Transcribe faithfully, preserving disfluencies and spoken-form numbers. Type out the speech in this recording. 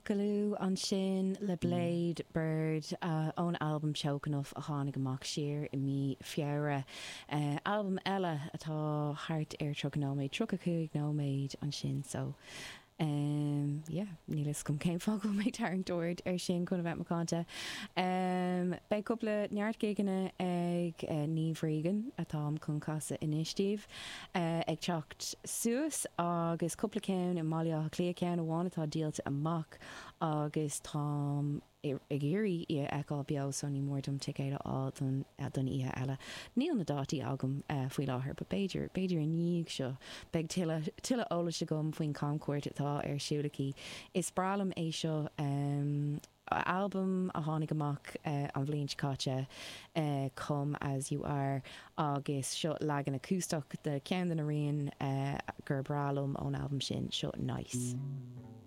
Buckaloo ansin le Blade Bird ón albam Choke Enough a tháinig amach siar i mí Feabhra. Albam eile atá thart ar tríocha nóiméad, tríocha cúig nóiméad ansin so um, yeah, níl a fhios agam cén fáth go mé ag tarraingt aird ar sin chun a bheith macánta. Um, beidh cúpla neart gigeanna ag uh, Niamh Regan atáim chun casadh anois daoibh uh, ag teacht suas agus cúpla ceann i mBaile Átha Cliath ceann amháin atá díolta amach agus táim ag iarraidh í a fheiceáil beo so ní mór dom ticéad a fháil don don oíche eile. Níl na dátaí agam uh, faoi láthair, but b'fhéidir b'fhéidir i ndiaidh seo beidh tuilleadh eolais agam faoin camchuairt atá ar siúl aici. Is breá liom é seo um, albam a tháinig amach uh, an bhliain seo caite uh, Come as You Are agus seo leagan acústach de ceann de na rian uh, gur breá liom ón albam sin seo nice.